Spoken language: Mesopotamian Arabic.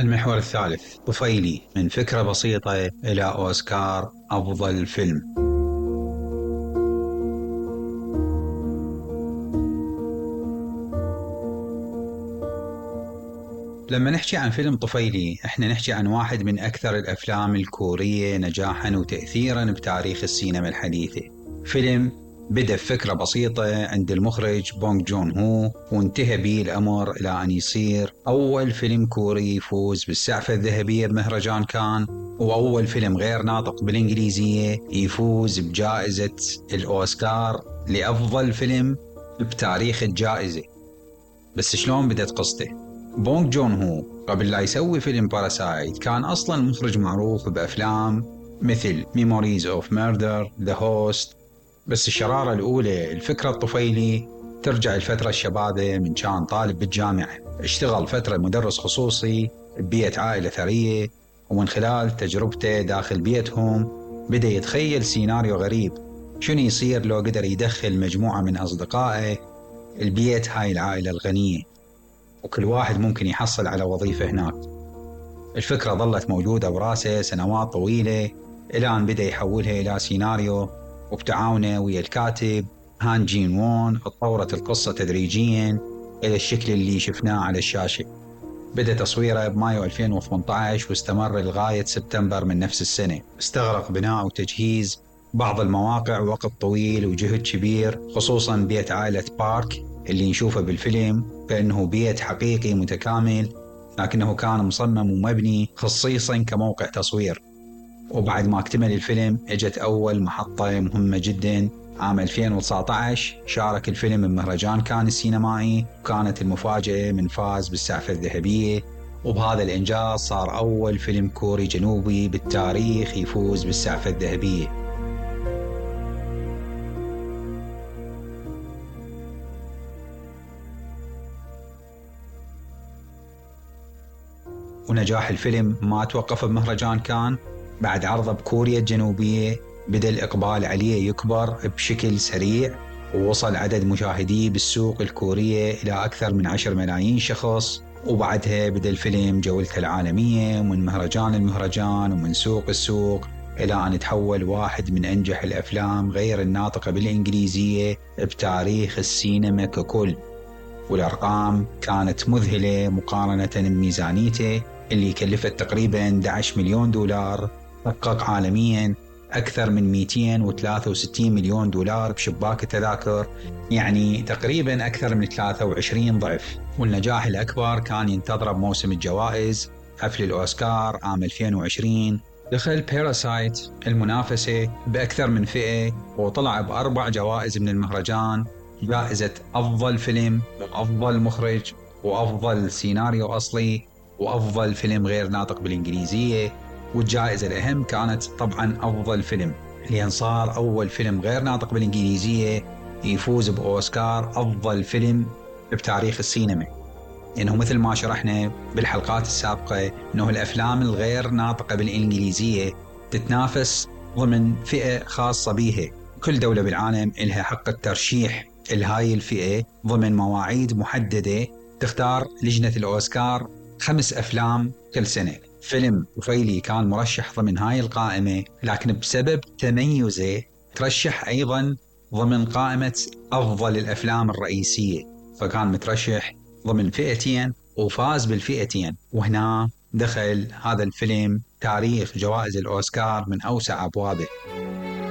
المحور الثالث طفيلي، من فكرة بسيطة إلى أوسكار أفضل فيلم. لما نحكي عن فيلم طفيلي احنا نحكي عن واحد من أكثر الأفلام الكورية نجاحاً وتأثيراً بتاريخ السينما الحديثة. فيلم بدأ بفكرة بسيطة عند المخرج بونغ جون هو، وانتهى به الأمر إلى أن يصير أول فيلم كوري يفوز بالسعفة الذهبية بمهرجان كان، وأول فيلم غير ناطق بالإنجليزية يفوز بجائزة الأوسكار لأفضل فيلم بتاريخ الجائزة. بس شلون بدت قصته؟ بونغ جون هو قبل لا يسوي فيلم باراسايت كان أصلاً مخرج معروف بأفلام مثل Memories of Murder, The Host. بس الشرارة الأولى الفكرة الطفيلي ترجع الفترة الشبابة، من كان طالب بالجامعة، اشتغل فترة مدرس خصوصي ببيئة عائلة ثرية، ومن خلال تجربته داخل بيتهم بدأ يتخيل سيناريو غريب، شنو يصير لو قدر يدخل مجموعة من أصدقائه البيت هاي العائلة الغنية، وكل واحد ممكن يحصل على وظيفة هناك. الفكرة ظلت موجودة براسه سنوات طويلة إلى أن بدأ يحولها إلى سيناريو، وبتعاونه ويا الكاتب هان جين وون اتطورت القصة تدريجياً إلى الشكل اللي شفناه على الشاشة. بدأ تصويره بمايو 2018 واستمر لغاية سبتمبر من نفس السنة. استغرق بناء وتجهيز بعض المواقع وقت طويل وجهد كبير، خصوصاً بيت عائلة بارك اللي نشوفه بالفيلم كأنه بيت حقيقي متكامل، لكنه كان مصمم ومبني خصيصاً كموقع تصوير. وبعد ما اكتمل الفيلم اجت أول محطة مهمة جداً عام 2019، شارك الفيلم بمهرجان كان السينمائي، وكانت المفاجأة من فاز بالسعفة الذهبية، وبهذا الإنجاز صار أول فيلم كوري جنوبي بالتاريخ يفوز بالسعفة الذهبية. ونجاح الفيلم ما توقف بمهرجان كان، بعد عرضه بكوريا الجنوبية بدأ الإقبال عليه يكبر بشكل سريع، ووصل عدد مشاهديه بالسوق الكورية إلى أكثر من 10 ملايين شخص. وبعدها بدأ الفيلم جولته العالمية من مهرجان لمهرجان ومن سوق السوق، إلى أن تحول واحد من أنجح الأفلام غير الناطقة بالإنجليزية بتاريخ السينما ككل. والأرقام كانت مذهلة مقارنة بميزانيته اللي كلفت تقريباً 11 مليون دولار، حقق عالمياً أكثر من 263 مليون دولار بشباك التذاكر، يعني تقريباً أكثر من 23 ضعف. والنجاح الأكبر كان ينتظر بموسم الجوائز حفل الأوسكار عام 2020. دخل باراسايت المنافسة بأكثر من فئة وطلع ب4 جوائز من المهرجان: جائزة أفضل فيلم، وأفضل مخرج، وأفضل سيناريو أصلي، وأفضل فيلم غير ناطق بالإنجليزية. والجائزة الأهم كانت طبعاً أفضل فيلم، لأن صار أول فيلم غير ناطق بالإنجليزية يفوز بأوسكار أفضل فيلم بتاريخ السينما. إنه مثل ما شرحنا بالحلقات السابقة إنه الأفلام الغير ناطقة بالإنجليزية تتنافس ضمن فئة خاصة بيها، كل دولة بالعالم إلها حق الترشيح لهاي الفئة ضمن مواعيد محددة. تختار لجنة الأوسكار 5 أفلام كل سنة. فيلم طفيلي كان مرشح ضمن هاي القائمة، لكن بسبب تميزه ترشح أيضا ضمن قائمة أفضل الأفلام الرئيسية، فكان مترشح ضمن فئتين وفاز بالفئتين. وهنا دخل هذا الفيلم تاريخ جوائز الأوسكار من أوسع أبوابه.